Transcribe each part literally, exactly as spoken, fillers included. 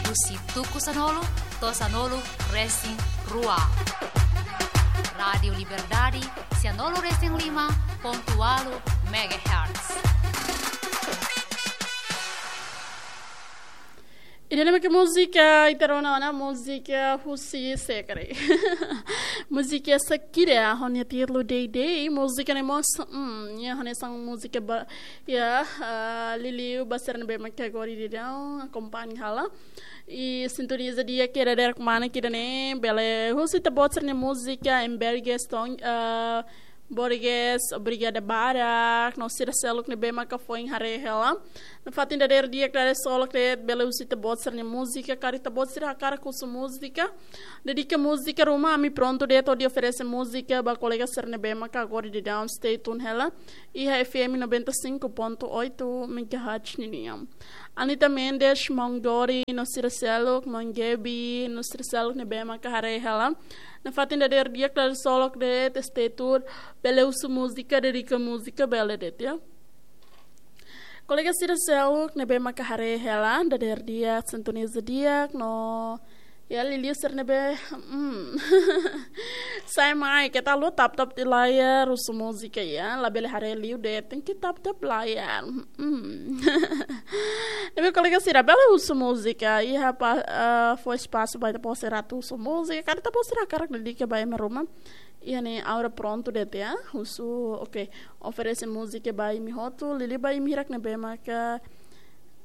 husi tuku sanulu to'o sanulu resin rua. Rádiu Liberdade, sanulu resin lima pontu ualu megahertz. Ida-ne'e mak múzika, ita rona ona múzika husi sekre. Múzika Shakira, ho nia títulu Dei Dei, múzika ne'e mós, hmm, ya, hanesan múzika ba, ya, ah, liuliu ba sira ne'ebé mak agora daudaun akompaña hela. I sintoniza di'ak iha dadeer kmanek ida-ne'e, bele husu ita-boot sira-nia múzika, em Berges, ton, ah, Borges, obrigada barak, no sira seluk ne'ebé maka foin haree hela. Nafatin dadeer di'ak, dadeer solok de'it, bele husu ita-boot sira-nia múzika, karik ita-boot sira hakarak husu múzika. Dedika múzika ruma, ami prontu de'it hodi oferese múzika ba kolega sira ne'ebé maka agora daudaun stay tune hela iha F M noventa e cinco ponto oito megahertz ninian. Anita Mendes, maun Dori, no sira seluk, maun Gaby, no sira seluk ne'ebé maka haree hela. Nafatin dadeer di'ak, dadeer solok de'it, stay tune, bele husu múzika, dedika múzika, bele de'it, ya. Kolega sira seluk ne'ebé maka haree hela, dadeer di'ak, sintoniza di'ak, no, ya, liuliu sira ne'ebé, hmm. Sai mai, keta haluha tap-tap di layar, husu múzika, ya, labele haree liu de'it, tenke tap-tap layar. Hmm. Ne'ebé kolega sira, bele husu múzika, iha pa, ah, fó espasu ba ita-boot sira atu husu múzika, karik ita-boot sira hakarak dedika ba ema ruma. Iha ne'e Aura prontu de'it, ya, husu, oke, oferese múzika ba imi hotu, liuliu ba imi hirak ne'ebé maka,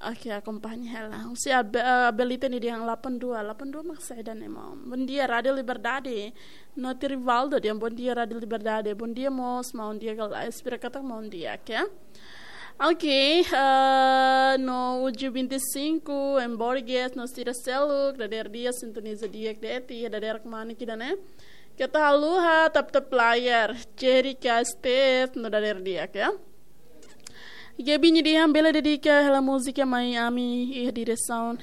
oke, akompaña hela. Husi Abe-, eh, Abelita nia dehan delapan dua, delapan dua mak saida ne'e, maun? Bondia, Rádiu Liberdade. Noti Rivaldo dehan bondia, Rádiu Liberdade. Bondia mós, maun Diego Lais, espera katak maun di'ak, ya. Oke, eh, no Uju vinte e cinco, em Borges, no sira seluk, dadeer di'ak, sintoniza di'ak de'it, iha dadeer kmanek ida-ne'e. Keta haluha tap-tap layar, Jerry Castet, no dadeer di'ak, ya. Gaby nia dehan bele dedika hela múzika mai ami, iha diresaun.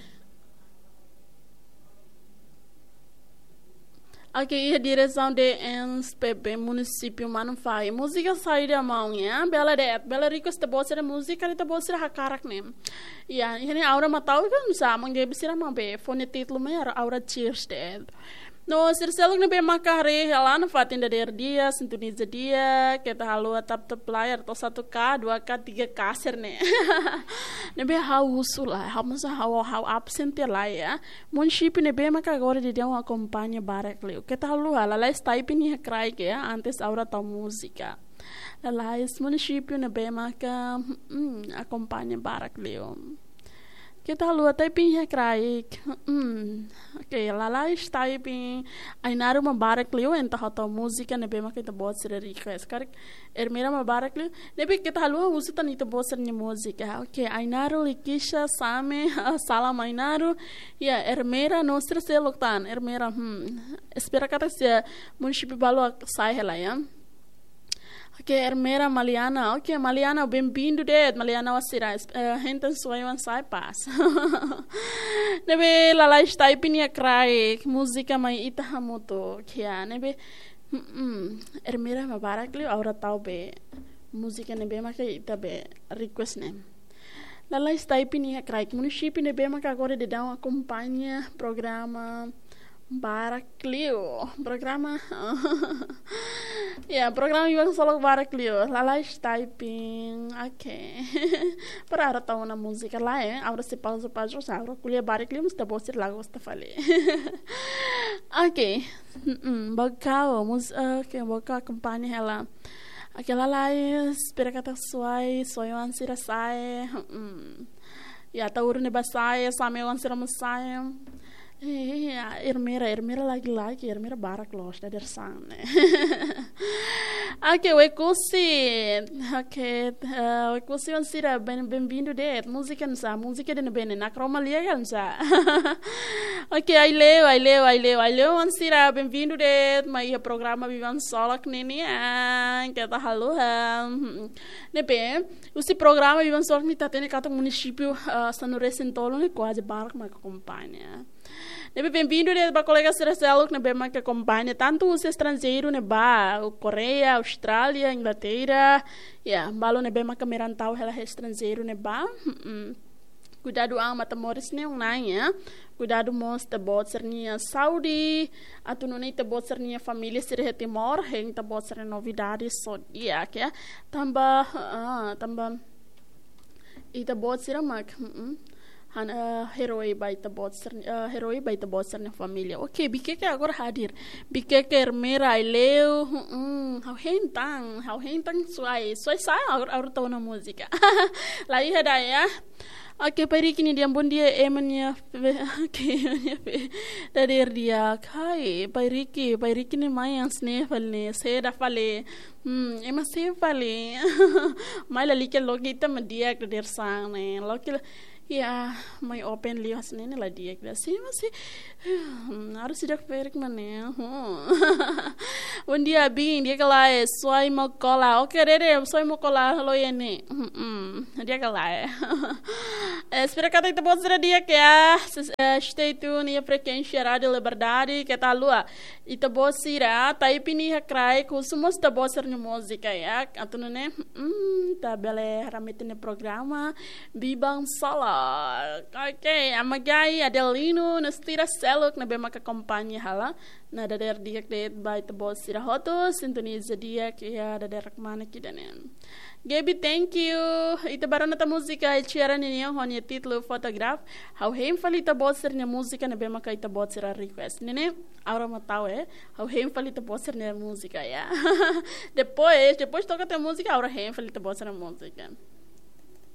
Oke, iha diresaun D N S P B munisípiu Manufahi. Múzika saida, maun, ya? Bele de'it, bele request ita-boot sira múzika, ita-boot sira hakarak ne'e. Ya, iha ne'e Aura mak tau, kan, sa, maun Gaby sira mak be, fó nia títulu mai Aura, Aura Cheers de'it. No sira seluk ne'ebé maka haree hela, nafatin dadeer di'ak, sintoniza di'ak, keta haluha tap-tap layar, to'o satu K, dua K, tiga K sira-ne'e. Ne'ebé ha'u husu lai, ha'u mós ha'u, ha'u absen tiha lai, ya. Munisípiu ne'ebé maka agora daudaun akompaña barak liu. Keta haluha, lalais typing iha kraik, ya, antes Aura tau múzika. Lalais munisípiu ne'ebé maka, hmm, akompaña barak liu. Keta haluha typing iha kraik. Hmm. Oke, lalais typing. Ainaro mak barak liu, entaun ha'u tau múzika ne'ebé maka ita-boot sira request. Karik Ermera mak barak liu. Ne'ebé keta haluha husu tan ita-boot sira-nia múzika. Oke, Ainaro, Likisha, Same, salam Ainaro. Ya, Ermera, no sira seluk tan. Ermera, hmm. Espera katak sira munisípiu balu sai hela, ya. Oke, Ermera, Maliana. Oke, Maliana, bem-vindu de'it. Maliana, oan sira, es-, eh, henten suai oan sai pas. Ne'ebé lalais typing iha kraik, múzika mai ita hamutuk. Oke, ya, ne'ebé, mm, mm. Ermera mak barak liu, Aura tau be múzika ne'ebé maka ita be request ne'e. Lalais typing iha kraik, munisípiu ne'ebé maka agora daudaun akompaña programa barak liu. Programa. Ya, programa Biban Solok barak liu. Lalais typing. Oke. Para Aura tau ona múzika lae, eh. Aura sei pauza, pauza, sa, Aura ko'alia barak liu, mas ita-boot sira la gosta fali. Oke. Mm-mm. Bokau, mus-, oke, Bokau akompaña hela. Oke, lalais, espera katak suai, suai oan sira sai. Mm-mm. Ya, Ataúru ne'e ba sai, Same oan sira mós sai. Eh, ya, Ermera, Ermera lagi-lagi, Ermera barak loos dadeer-saan ne'e. Oke, Oekusi. Oke, eh, Oekusi oan sira, bem-, bem-vindu de'it. Múzika nusá, múzika ida-ne'ebé ne'e, Nakromalia ka nusá? Oke, Aileu, Aileu, Aileu, Aileu oan sira, bem-vindu de'it mai iha programa Biban Solok ninian, keta haluha. Ne'ebé, husi programa Biban Solok ne'e ita hatene katak munisípiu, ah, sanulu resin tolu ne'e kuaze barak mak akompaña. Ne'ebé bem-vindu de'it ba kolega sira seluk ne'ebé mak akompaña, tantu husi estranjeiru ne'ebá, Koreia, Austrália, Inglaterra, ya, balu ne'ebé mak merantau hela iha estranjeiru ne'ebá. Mm-mm. Kuidadu an mata moris ne'e, Nai, ya. Kuidadu mós ita-boot sira-nia saúde. Atu nune'e ita-boot sira-nia família sira iha Timor, hein ita-boot sira-nia novidade só di'ak, ya. Tanba, ah, tanba ita-boot sira mak, mm, han, eh, herói ba ita-boot sira, eh, herói ba ita-boot sira-nia família. Oke, Bikeke agora hadir. Bikeke, Ermera, Aileu, mm, ha'u hein tan, ha'u hein tan Suai. Suai sá, agora, agora tau ona múzika. La iha ida, ya. Oke, Pai Riki nia dehan bom dia, ema nia fe-, oke, ema nia fe-, dadeer di'ak. Hai, Pai Riki, Pai Riki ne'e mai hanesan ne'e fali ne'e, saida fali. Hmm, ema sei fali. Mai lalika loke ita mak di'ak dadeer-saan ne'e. Loke la, ya, mai open liu hanesan ne'e la di'ak ida. Sei, masih, hmm, harus sidak ferik mana. Hmm. Bom dia, Bin, di'ak ka lae, Suai Mokola. Oke, Dede, Suai Mokola, halo ya ni. Hmm, hmm. Di'ak ka lae. Eh, espera katak ita-boot sira di'ak, ya. Ses-, eh, stay tune iha frekuénsia Rádio Liberdade, keta haluha. Ita-boot sira, Taipi nia kraik, husu mós ita-boot sira-nia múzika, ya. Atu nune'e, hmm, ita bele haramete nia programa Biban Sala. Oke, Amagai, Adelino, no sira seluk ne'ebé maka akompaña hela. Nah, dadeer di'ak de'it ba ita-boot sira hotu, sintoniza di'ak iha dadeer kmanek ida-ne'e. Gaby, thank you. Ita bá rona tan múzika Ed Sheeran ninian ho nia títulu Photograph. Ha'u hein fali ita-boot sira-nia múzika ne'ebé maka ita-boot sira request. Ne'e ne'e, agora mak tau, eh. Ha'u hein fali ita-boot sira-nia múzika, ya. Depois, depois toka tan múzika, agora hein fali ita-boot sira-nia múzika.